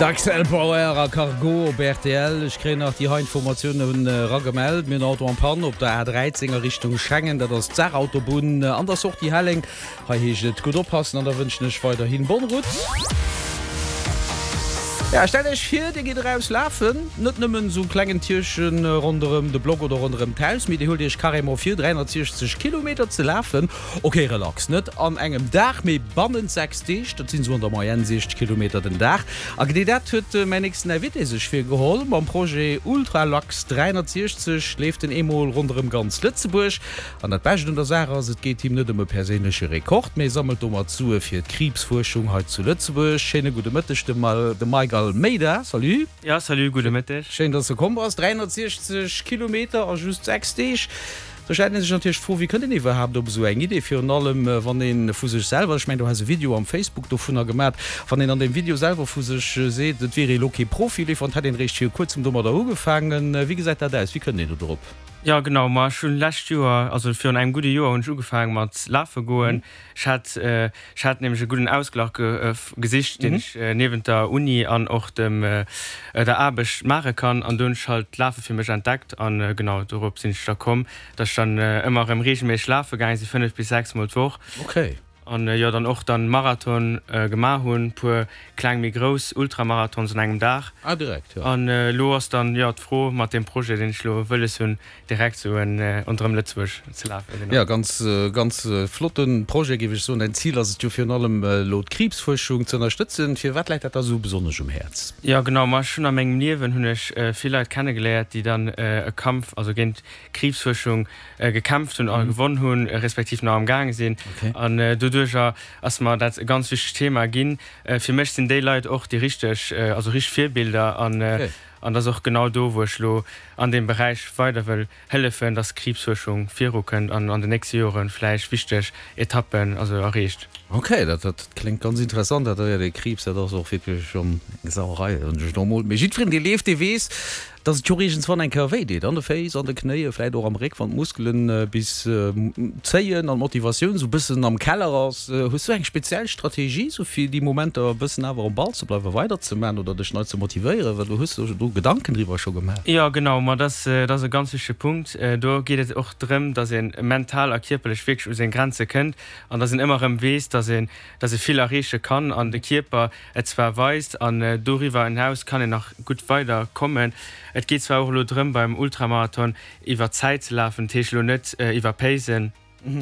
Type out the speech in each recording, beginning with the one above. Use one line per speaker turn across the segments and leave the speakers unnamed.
D'Axel Bauer a Cargo op rtl. Ech kréien nach déi hei Informatiounen eragemellt, Mir hunn en Auto en panne op der A13 a Richtung Schengen, dat ass d'Saarautobunn an der Sortie Helleng. Hei heescht et gutt oppassen an da wënschen ech weiderhin bonne route. Ja, stellt iech vir, dir gitt eraus lafen, net nëmmen esou klengen Tierchen ronderëm de Block oder ronderëm d'Haus, mee dir huelt iech carrément vir 360 Kilometer ze lafen. Ok, relax, net an engem Dag, mee bannent 6 Deeg, dat sinn esou an der Moyenne 60 Kilometer den Dag. A genee dat huet mäin nächsten Invité sech virgeholl. Mam Projet Ultralax 360 leeft en eemol ronderëm ganz Lëtzebuerg. An dat Bescht un der Saach ass, et geet him net ëm e perséinleche Rekord, mee e sammelt domat Sue fir d'Kriibsfuerschung hei zu Lëtzebuerg. Schéine gudde Mëtteg dem Mike Almeida. Salut.
Jo, salut, gudde Mëtteg.
Schéin, dass de komm bass. 360 Kilometer a just 6 Deeg. Do stellt ee sech natierlech d'Fro, wéi kënnt een iwwerhaapt op esou eng Idee, virun allem wann ee vu sech selwer, ech mengen du has e Video am Facebook dovunner gemat, wann een an deem Video selwer vu sech seet, et wier ee lo kee Profileefer an et hätt een eréischt viru kuerzem domadder ugefaangen. Wéi gesäit dat aus? Wéi kënnt een do drop?
Jo genau, ma ech hunn lescht Joer, also virun engem gudde Joer hunn ech ugefaangen mat lafe goen. Ech hat ech hat nämlech e gudden Ausglach gesicht, deen ech niewent der Uni an och dem der Aarbecht maache kann an do hunn ech halt d'Lafe fir mech entdeckt an genau dorop sinn ech da komm, datt ech dann ëmmer erëm reegelméisseg lafe gaange sinn, 5 bis 6 mol d'Woch.
Okay.
An jo dann och dann Marathon gemaach hunn, puer kleng méi grouss Ultramarathons an engem Dag.
Ah direkt, jo.
An elo ass dann jo d'Fro mat deem Projet deen ech elo wëlles hunn direkt sou en ronderëm Lëtzebuerg ze lafen,
genau. Jo, ganz ganz flotten Projet géif ech soen. Däin Zil ass et jo virun allem elo d'Kriibsfuerschung ze ënnerstëtzen. Firwat läit dat der esou besonnesch um Häerz?
Jo genau, ma ech hunn a mengem Liewen hunn ech vill Leit kennegeléiert déi dann e Kampf also géint Kriibsfuerschung gekämpft hunn a gewonn hunn, respektiv nach am gaange sinn. An doduercher ass mer dat e ganz wichtegt Thema ginn. Fir mech sinn déi Leit och déi richteg, also richteg Virbilder an an dat ass och genau do, wou ech elo an deem Beräich weider wëll hëllefen, dass d'Kriibsfuerschung virukënnt an an den nächste Jore vläicht wichteg Etappen also erreecht.
Ok, dat dat kléngt ganz interessant. Dat jo, dee Kriibs, dat ass och wierklech schonn eng Sauerei, soen ech elo emol. Mee jiddwereen, dee leeft, dee weess, Dass et jo och iergendswann eng Kéier wéi deet, an de Féiss, an de Knéien, vläit och am Réck, wann d'Muskelen bis zéien an d'Motivatioun sou bëssen am Keller ass. Hues du eng speziell Strategie sou fir déi Momenter e bëssen awer um Ball ze bleiwen, weider ze man oder dech nei ze motivéieren? Well du hues der do Gedanken driwwer scho gemaach.
Jo genau, ma dat ass e ganz wichtege Punkt. Do geet et och drëm, dass ee mental a kierperlech wierklech u seng Grenze kënnt an dass een ëmmer erëm weess, dass een dass ee vill erreeche kann an de Kierper et zwar weist an doriwwer enaus kann een nach gutt weider kommen. Et geet zwar och elo drëm beim Ultramarathon iwwer Zäit ze lafen, dat heescht elo net iwwer Paisen,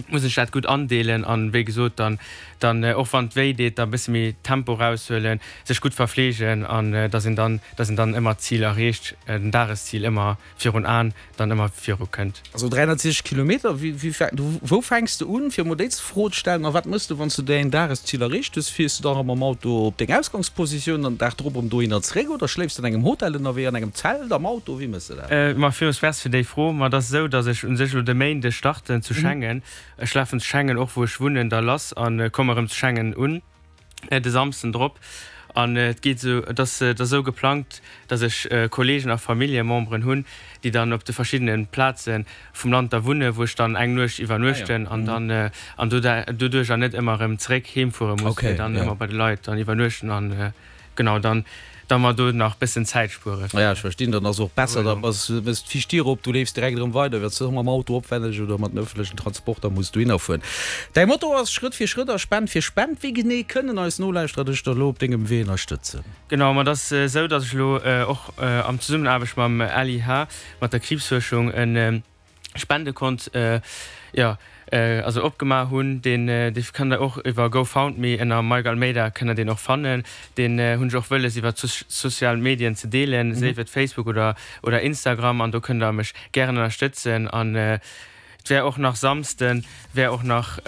muss ech dat gutt andeelen an wéi gesot dann dann och wann et wéi deet da bësse méi Tempo raushuelen, sech gutt verfleegen an dass een dann dass een dann ëmmer d'Zil erreecht, den Dageszil ëmmer virun Aen dann ëmmer viru kënnt.
Also 360 Kilometer, wou fänks de un, fir emol déi Fro ze stellen, a wat mëss de, wann s de däin Dageszil erreecht hues? Fiers de da erëm mam Auto op deng Ausgangspositioun an den Dag drop erëm dohinner zeréck oder schléifs de an engem Hotel ënnerwee, an engem Zelt, am Auto, wéi mëss de
dat? Ma villmools Merci fir déi Fro. Ma et ass esou, datt ech u sech elo de Méinde starten zu Schengen. Ech lafen zu Schengen, och wou ech wunnen, da lass a komme erëm zu Schengen un. de Samsden drop an et geet esou, et ass et ass esou geplangt, datt ech Kollegen a Familljememberen hunn, déi dann op de verschiddene Plaze vum Land da wunnen, wou ech dann eng Nuecht iwwernuechten an dann an doduercher net ëmmer erëm zeréck heem fuere muss, mee dann ëmmer bei de Leit dann iwwernuechten an genau dann da mer do nach bëssen Zäit spueren.
Ja, ech verstinn, dann ass och besser, da bass, méchs d'viischt Dier op, du leefs direkt erëm weider, wéi wann s du mam Auto opwenneg oder mat den ëffentlechen Transporter muss dohinner fueren. Däi Motto ass Schrëtt fir Schrëtt a Spend fir Spend. Wéi genee kënnen eis Nolauschterer dech da lo op dengem Wee ënnerstëtzen?
Genau, ma et ass esou, datt ech elo och am Zesummenaarbecht mam LIH, mat der Kriibsfuerschung, e Spendekont, jo, also opgemaach hunn. Deen, dee kënnt der och iwwer GoFoundMe ënner Mike Almeida kënnt der deen och fannen. Deen hunn ech och wëlles iwwer d'sozial Medien ze deelen, séif et Facebook oder, oder Instagram an do kënnt der mech gären ënnerstëtzen. An et wär och nach Samsden wär och nach,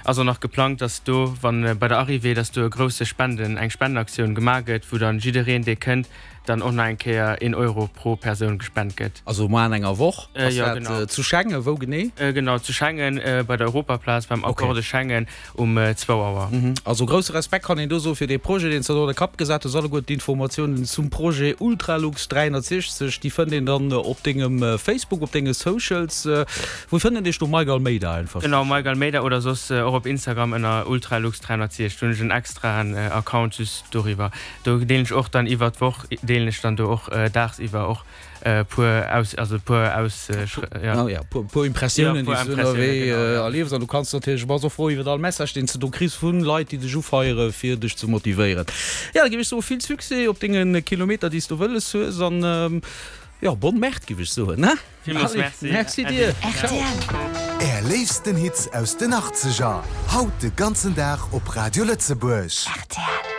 ass och nach geplangt, dass do, wann bei der Arrivée, dass do e grousse Spenden, eng Spendenaktioun gemaach gëtt, wou dann jiddereen dee kënnt. Dann och nach eng Kéier een Euro pro Persoun gespent gëtt.
Also muer an enger Woch ass dat zu Schengen. Wou genee?
Genau, zu Schengen bei der Europaplaz beim Accord de Schengen um zwou Auer.
Also grousse Respekt kann een do soe fir dee Projet, deen s de do an de Kapp gesat hues. Alleguer d'Informatiounen zum Projet Ultralux 360, déi fënnt een dann op dengem Facebook, op denge Socials. Wou fënnt een dech do? Mike Almeida einfach.
Genau, Mike Almeida oder soss och op Instagram ënner Ultralux 360. Do hunn ech en extraen Account just doriwwer. Do deelen ech och dann iwwer d'Woch deelen ech dann do och daagsiwwer och puer aus also puer aus
ja. Ja, puer, puer Impressiounen, déi s du ënnerwee erliefs. An du kanns natierlech, bass och frou iwwer all Message, deen s de do kriss vu Leit, déi dech ufeiere fir dech ze motivéieren. Ja, da géif ech soe vill Succès op denge Kilometer, déi s du wëlles hues an jo, bonne Merde, géif ech soen, ne?
Villmools
Merci. Merci dir. Ciao.
Är léifsten Hits aus den Achtzeger, haut de ganzen Dag op Radio Lëtzebuerg.
Rtl.